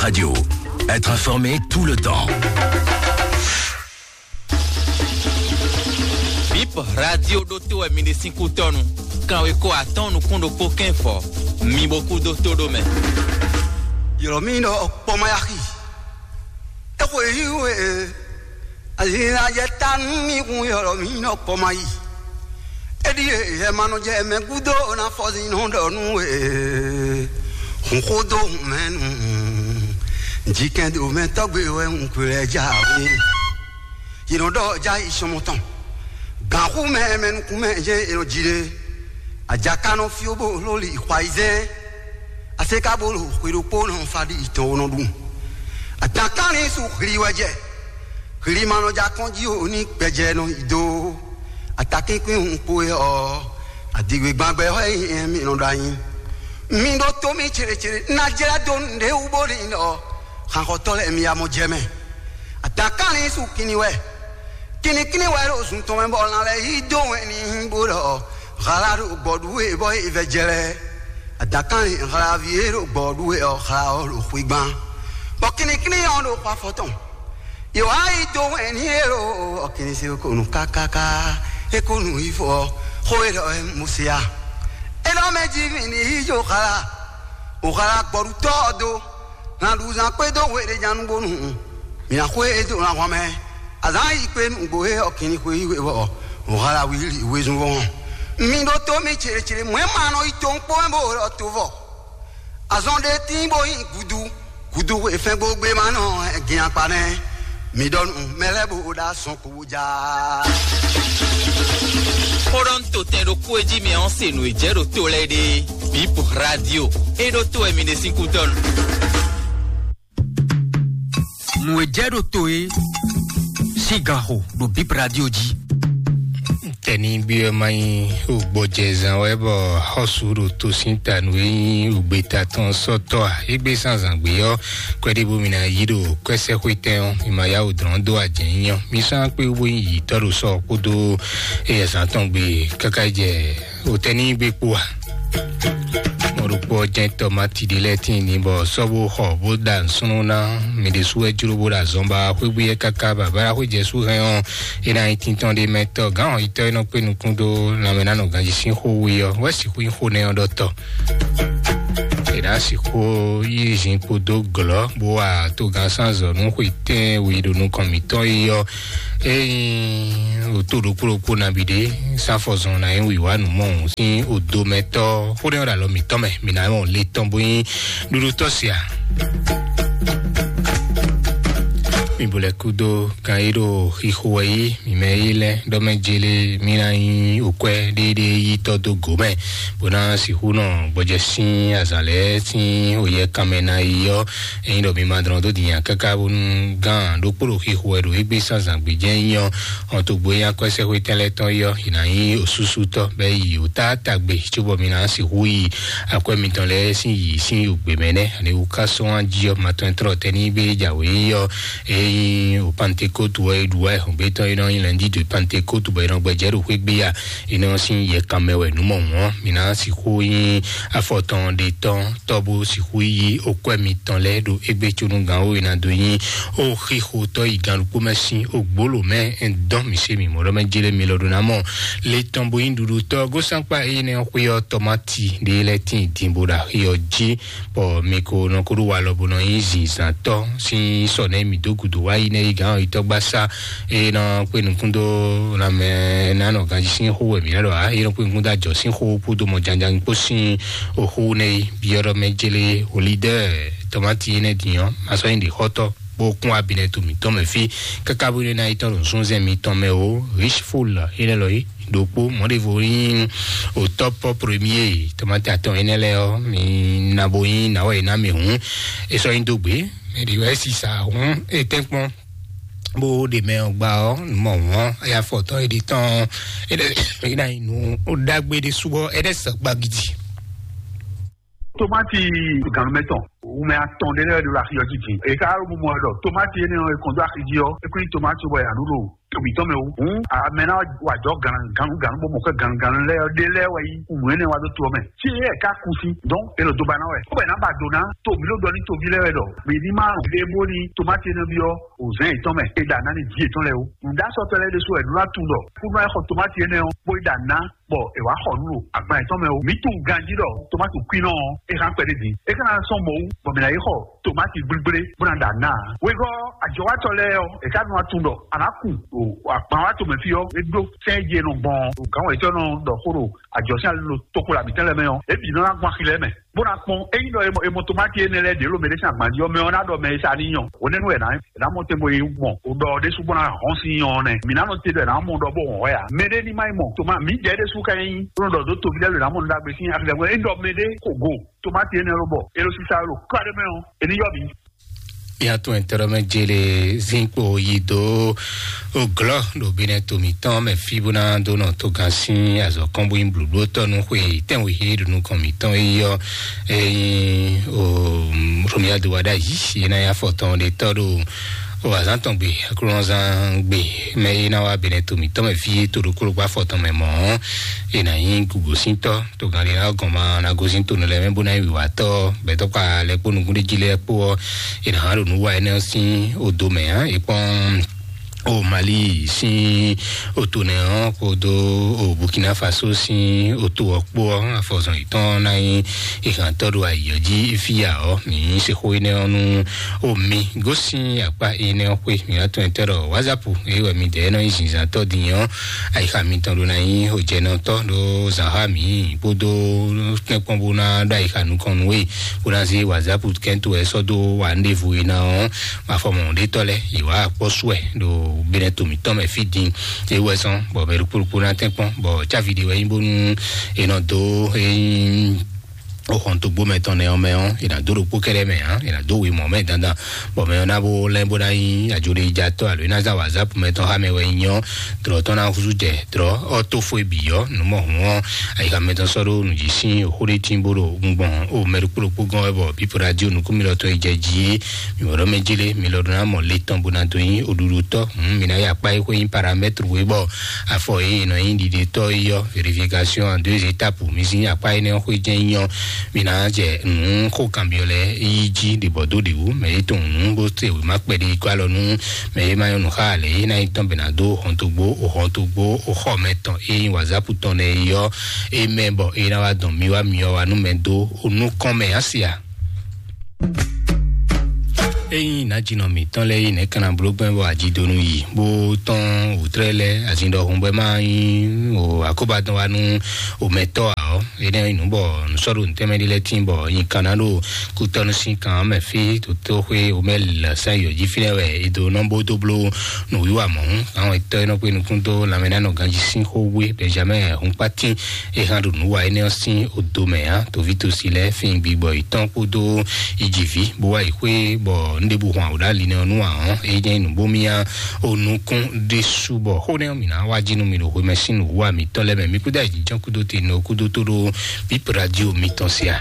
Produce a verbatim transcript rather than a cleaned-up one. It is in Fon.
Radio. Être informé tout le temps. Bip radio ɖo to wɛ mi ɖe sín kútɔnu. Kanwe ko atɔn nukún ɖokpó kɛn fɔ. Mi bo kú dó tó ɖó mɛ. Yɔlɔ mi ɖɔ kpɔmayaxi. Exwe yi we. Azina yɛ ta nú mi hun yɔlɔ mi nɔ kpɔmayi. Eɖi e yɛ ma nɔ jɛ mɛ gúdo na fɔzinɔ ɖɔ nú we. Hun xó dó hun mɛ nu. Jikɛn do mɛ tɔgbe wɛ un kplɛ ja we. Yi nɔ ɖɔ ja yi sɔmɔ tɔn. Gan xú mɛ mɛ nukún mɛ jɛ yi nɔ ji ɖe. Ajaka nɔ fio bo loli xwa yi zɛ. Ase ka bo lo xwe ɖokpó nɔ fa ɖi tɔn wo nɔ ɖu. Atankanlin su hli wɛ jɛ. Hli ma nɔ ja kɔn ji o ní gbɛjɛ nɔ yi do. Atakínkún hun kpo yɛ ɔ. Adigbe gbangbɛ hɔ yi mi nɔ ɖo anyi. Mi ɖo to mi cere cere na jla do nɖe wu bo ɖi ɔ. Xanxɔtɔ lɛ mi ya mɔ jɛ mɛ. Atankanlin su kinni wɛ. Kinnikínní wɛ ɖo zun tɔn mɛ bɔ lan lɛ́ɛ yí dó wɛn ní bó ɖɔ hala ɖo gbɔɖu e bɔ e vɛ jɛ lɛ́ɛ. Adakanlin hlavi e ɖo gbɔɖu e ɔ hla ɔ ɖo xwigban. Bɔ kinnikínní ɔ ɖo xɔ afɔ tɔn. Yǒ wá yí dó wɛn ní e ɖo ɔkinisi ko nu kákáká e ko nu yi fɔ xó e ɖɔ wɛ Mose a. E ɖɔ mɛ jí mi ní yí jó hala. O hala gbɔɖutɔ́ ɔ dó. Hlan ɖu zán kpé dó hwe ɖé nya nú bónú. Mi ná xwé e dó ná hwan mɛ. Azǎn yi kpé nǔgbó e ɔ kìnní xwé yí we ɔ, wǒ há la wíwlí wezun vɔ́ hɔn. Mi ɖótó mi cěɖécěɖé, mɔ̌ e ma nɔ yi to kpó mɛ bó ɖɔ to vɔ. Azɔn ɖé tín bó nyí gudu, gudu e fɛ́n gbó gbé ma nɔ gin akpa nɛ́. Mi ɖɔ nú mɛ lɛ́ɛ bó ɖo azɔn kpo bó já. Xó ɖɔ ń to tɛn ɖokpó e jí mi ɔ́ se nǔ e jɛ ɖo to lɛ́ɛ ɖe. Bip radio. E ɖo to wɛ mi ɖe sín kútɔ́ nu. Nǔ e jɛ ɖo to e sín gan xo ɖo Bip Radio jí. Tɛnigbe ɔ́ ma nyí wǒgbɔjɛzán wɛ bɔ xɔ́sú ɖo to sín ta nǔ e nyí wǔgbeta tɔn sɔ́tɔ́ a? Égbé zǎnzǎn gbé ɔ́, kwɛ́ɖíbú mi ná yí ɖo kwɛ́sɛ́xwétɛn ɔ́, mi ma yá wǔ dlɔ́n dó ajɛ̌nyínyɔ́. Mi sɔ́ ná kpé wú bó nyí yǐtɔ́ ɖo sɔ kpódó eyɛzán tɔn gbe káká jɛ wotɛnigbe kpó a? Mɔɖokpɔ jɛn tɔmati ɖé lɛ́ɛ tíin ní bɔ sɔ́ bó xɔ bó ɖa nǔsúnnú ná. Mi ɖésú wɛ jló bó ɖo azɔn ba xwégbé yɛ káká baba xwé jɛ sú hɛn ɔ́, é ná nyí tíntɔ́n ɖé mɛ tɔ́ gǎn ɔ́ yitɔ́ e nɔ kpé nukún dó lanmɛ ná nɔ ganjí sín xó we ɔ́ wɛ sixú nyí xó nɛ́ ɔ́ ɖɔ tɔ́. É ná sixú yí zin kpódó glɔ́ bó wa togán sán zɔ nú xwe tɛ́n we ɖo nukɔn mǐtɔn yi ɔ́. Ényí wǒ to ɖokpó ɖokpó nabí ɖé, sáfɔzɔn ná nyí wǐwá nǔ mɔ sín odomɛtɔ́ xó ɖé ɔ́ ɖo alɔ mǐtɔn mɛ, mǐ ná mɔ le tɔn bó nyí ɖuɖutɔ́ sia. Mi bo lɛ kúdó kan e ɖo xixo wɛ yí mi mɛ yí lɛ ɖɔ mɛ jele mi ná nyí okwɛ ɖéɖé yí tɔ dó go mɛ, bó ná sixú nɔ gbɔjɛ sín azǎn lɛ́ɛ sín oyɛ kanmɛ ná yi ɔ́. Ényí ɖɔ mi ma dlɔn dó din nya káká bónú gán ɖokpó ɖo xixo wɛ ɖo égbé sán zǎn gbé jɛ́n nyí ɔ́, ɔn to gbo nya kɔ́ sɛ́xwé tɛn lɛ́ɛ tɔn yi ɔ́, yi ná nyí osúsútɔ́ bɛ́ yi wǒ táátagbe cóbɔ mi ná sixú yi akwɛ́ mitɔn lɛ́ɛ sín yi sín yǒgbé mɛ nɛ́. Ani wú ká sɔ́ wán jí ɔ́, ma tɔn tlɔ tɛ ní bé jǎwe yi ɔ́, ényí o Pantekótu wɛ é ɖu wá ɛhɔn gbé tɔn é nɔ nyí lɛndí de Pantekótu bɔ é nɔ gbɛjɛ ɖo xwé gbé ya, é nɔ sín yɛ kanmɛ wɛ nǔ mɔ wɔn mi ná sixú nyí afɔtɔn ɖe tɔn tɔ́ bó sixú yí okwɛ́ mitɔn lɛ́ɛ ɖo égbé cónú gǎn wó e ná dó nyí ó xixotɔ́ yi gǎn ɖokpó mɛ sín ogbóló mɛ dɔn mi se mi mɔɖɔ mɛ jele mi lɔ ɖo ná mɔ le tɔn bo nyí ɖuɖu tɔ́ gósánkpá énɛ́ xwé ɔ́ tɔmati ɖé lɛ́ɛ tín din bó ɖo axi ɔ́ jí, bɔ mi ko nɔ ko ɖo wa lɔ bó nɔ nyí zinzantɔ́ sín sɔ nɛ́ mi dó gǔdo wá yi nɛ́ yi gǎn ɔ́ yi tɔ́ gbásá. Eye nɔ kpé nukún dó lanmɛ ná nɔ ganjí sín xó wɛ mǐ ná ɖɔ ǎ. Eye nɔ kpé nukún dó ajɔ sín xó kpódó mɔ janjan kpó sín oxó nɛ yi byɔ́ ɖɔ mɛ jélé olídɛ́ tɔmati énɛ́ din ɔ́, ma sɔ́ nyi ɖi xɔ́tɔ́ bó kún abinɛ to mǐtɔn mɛ fí káká bó nɔ ná yi tɔn ɖo súnzɛn mitɔn mɛ o. Richeful énɛ́ lɔ yi ɖokpó mɔɖevo nyí o top premier tɔmati atɔn énɛ́ lɛ́ɛ ɔ́, mi na bo nyí nawɛ yi ná mi hǔn. É sɔ́ nyi dó gbé mɛ ɖi wɛ sisa hǔn é tɛ́nkpɔ́n bó ɖe mɛ ɔ́ gba ɔ́, nǔ mɔ wɔn, eya fɔ tɔn e ɖi tɔn e ɖe e ɖa nyi nǔ ɖagbe ɖe subɔ e ɖe sɛ gbagidi. Tomati ganumɛtɔn wumɛ atɔn ɖe lɛ ɖo axi ɔ́ jí din. E ka ɖo mumɔ ɖɔ tomati énɛ́ ɔ́ e kɔn dó axi jí ɔ́, e kún nyí tomati bɔ ya ɖu ɖo to mǐtɔn mɛ o. Hǔn amɛ ná wá jɔ gannuganu bó mɔ xɛ gannuganu lɛ́ɛ ɔ́, ɖé lɛ́ɛ wɛ nyí nǔ énɛ́ wá dó to ɔ́ mɛ. Fí é ká kú sín, donc é lɔ dó ba ná wɛ. Kó bɛ̌ ná ba do ná to mǐ ló ɖɔ ní toví lɛ́ɛ wɛ ɖɔ mǐ ní má ɖe bó ní tomáti énɛ́ byɔ́ òzɛ́n yětɔn mɛ, é ɖa ná ní vǐ yětɔn lɛ́ɛ o. Nǔɖásɔtɔ́ lɛ́ɛ ɖésú wɛ nú ná tunwun ɖɔ kúnú wá xɔ tomáti énɛ́ ɔ́, bó yi ɖa ná bɔ è wǎ xɔ nǔ ɖo agban yětɔn mɛ o. Mǐ tunwun ganjí ɖɔ tomáti kwínɔ ɔ́, é hán kpɛɖé din. É ka ná sɔ́ mɔ̌ wú bɔ mǐ ná yi xɔ tomáti gblígblé bó ná ɖa ná ǎ. Wegɔ́ ajɔwátɔ́ lɛ́ɛ ɔ́, è ká nɔ wá tunwun ɖɔ a nǎ kun ɖo agban wá tomɛ fí ɔ́, é ɖó sɛ́n e jí è nɔ gbɔn ɔ́. Gǎn wɛ̌tɔ́ nɔ ɖɔ xó ɖo ajɔ̌ sín ali ɖo toxo lɛ mǐtɛn lɛ́ɛ mɛ ɔ́, é bǐ nɔ ná gbɔn axi lɛ́ɛ mɛ, bó ná kpɔ́n. Ényí ɖɔ è mɔ, è mɔ tomáti énɛ́ lɛ́ɛ ɖě ɖo mɛɖé sín agban jí ɔ́, mɛ ɔ́ ná ɖɔ mɛ e sa ní nyɔ. Hwenɛ́nu wɛ è nǎ, è nǎ mɔ tɛn bó yi gbɔn. O ɖɔ ɖésú bó ná hɔn sín nyɔ ɔ́ nɛ́. Mǐ ná nɔ te ɖɔ è nǎ mɔ ɖɔ bó hɔn hwɛ ǎ. Mɛɖé ní má yi mɔ. Toma, mǐ jɛ ɖésú ka nyí bó nɔ ɖɔ dó toví lɛ́ɛ ɖo è nǎ mɔ nǔ ɖagbe sín axi lɛ́ɛ mɛ. Ényí ɖɔ mɛɖé ko go tomáti énɛ́ ló bɔ è ɖo sisa ló kɔ ɖé mɛ ɔ́, è ní yɔ mǐ. Mía tún ɛtɛ́ɖɔmɛ jele zinkpo yi dó oglɔ ɖo binɛ to mǐtɔn mɛ fí bó ná dó nɔ togan sín azɔ̌ kɔn bó nyí blǔblótɔ́ nú xwe tɛ́nwe he ɖo nukɔn mǐtɔn é yɔ. Ényí o romia do wa ɖ'ayǐ é ná nyí afɔtɔn ɖe tɔ́ ɖo o azǎn tɔn gbe aklúnɔzán gbe mɛ é ná wá binɛ to mǐtɔn mɛ fí é to ɖokpó ɖokpó afɔtɔn mɛ mɔ̌ é ná nyí gugosíntɔ́. Togán ɖé ná gɔn ma ná gosín to nɔ lɛ́ɛ mɛ bó ná nyí wǐwátɔ́ bɛ̌tɔ́kpa lɛ́ɛ kpó nukúnɖéjí lɛ́ɛ kpó ɔ́, è nǎ ɖo nǔ wa énɛ́ ɔ́ sín odo mɛ ǎ. È kpɔ́n o Mali sín oto nɛ ɔ́ kpódó o Burkina Faso sín oto ɔ́ kpó ɔ́, afɔzɔn yětɔn ná nyí ìhàntɔ́ ɖo ayǐ ɔ́ jí fíya ɔ́, mǐ sexó énɛ́ ɔ́ nú o mi gosín akpá énɛ́ ɔ́ xwé. Mǐ wá tunwun tɛ́ ɖɔ WhatsApp é wɛ mi dɛ̌ nɔ nyí zinzǎntɔ́ din ɔ́, ayixa mitɔn ɖó ná nyí hojɛnɔtɔ́ ɖó zǎnxá mǐ kpódó tɛ́nkpɔ́n bó ná ɖó ayixa nukɔn nú we bó ná zé WhatsApp kɛ́ntó wɛ sɔ́ dó wa ɖěvo e ná ɔ́, mafɔmɔ ɖétɔ́ lɛ́ɛ yě wá akpɔ́ sú wɛ ɖo binɛ to mǐtɔn mɛ fí din. É wɛ sɔn bɔ mɛ ɖokpó ɖokpó ná tɛ́nkpɔ́n bɔ cávi ɖé wɛ nyí bónú è nɔ dó é nyí o xɔn dogbo mɛ tɔn nɛ ɔ́ mɛ ɔ́, è nǎ dó ɖokpó kɛ́ɖɛ́ mɛ ǎ, è nǎ dó we mɔ̌ mɛ dandan. Bɔ mɛ ɔ́ ná bó lɛ́ bó ná nyí ajoɖejatɔ́ alo é ná zán WhatsApp mɛ tɔn xá mɛ wɛ nyí ɔ́, dlɔ̌ tɔn ná húzú jɛ dlɔ̌ ɔ́ tó fó e bǐ ɔ́, nǔ mɔ hǔn ɔ́, ayixa mɛ tɔn sɔ́ ɖó nǔ jí sín xó ɖé tín bó ɖo gbɔn o mɛ ɖokpó ɖokpó gɔ́n wɛ bɔ bípo radio nukúnmilɔ tɔn yi jɛ jí é. Mi mɔ̌ ɖɔ mɛ jí lé, mi lɔ ɖó ná mɔ le tɔn bó ná dó nyí oɖuɖu tɔ́. Hǔn mi ná yi akpá e xwé nyí paramètre we bɔ afɔ e è nɔ nyí ɖiɖetɔ́ é yɔ vérification en deux étapes. Mi sín akpá énɛ́ ɔ́ xwé jɛ́n nyí ɔ́, mi ná jɛ nǔ xó kanbyɔ́ lɛ́ɛ yí jí ɖě bɔ dó ɖě wú. Mɛ e tunwun nǔ bó se wěma kpɛɖé yi kó alɔ nú mɛ e ma nyɔ́ nǔ xá ǎ lɛ́ɛ é ná nyí tɔn bɛ ná dó hɔntogbó, o hɔntogbó, o xɔ mɛ tɔn e nyí wǎzápu tɔn lɛ́ɛ é yɔ é mɛ bɔ é ná wá dɔn mi wá myɔ wá nú mɛ dó o nukɔn mɛ á se a. Ényí nǎjínɔ mǐtɔn lɛ́ɛ yi nɛ̌ kan ná bló gbɛ́ bɔ ajidonu yi bó tɔ́n wǔtrɛ́ lɛ́ɛ azin ɖɔhun bɔ é má nyí o akóbadɔn wá nú omɛtɔ́ ǎ ɔ́, énɛ́ nyí nǔ bɔ nǔ sɔ́ ɖo nǔtɛ́mɛ ɖé lɛ́ɛ tíin bɔ nyi kan ná ɖo kútɔ́nú sín kan ɔ́ mɛ fí. Tóxwé omɛ lɛ sɛ́n yǒ jí fínɛ́ wɛ è dó nɔ bó dó bló nǔwiwa mɔ̌. Àwọn ètò ẹ̀ nɔ pé nukún dó lanmɛ ná nɔ ganjí sín xó wé Benjamin Hunkpatín. É hán ɖo nǔ wa énɛ́ ɔ́ sín odo mɛ ǎ. Tovítosi lɛ́ɛ fín gbigbɔ yětɔn kpódó ijiví bó wá yi xwé bɔ nɖěbǔ hɔn awǒɖá linɛ ɔ́ nú ǎ ɔ́, é nyí nǔbómíá o nukún ɖésú bɔ xó nɛ́ ɔ́ mǐ ná wá jí nú mi ɖo hwemɛ sín nǔwiwa mǐtɔn lɛ́ɛ mɛ. Mi kúdó ayǐjínjɔ́n kúdó te nɔ kúdó tó ɖó bíp radio mitɔn sia.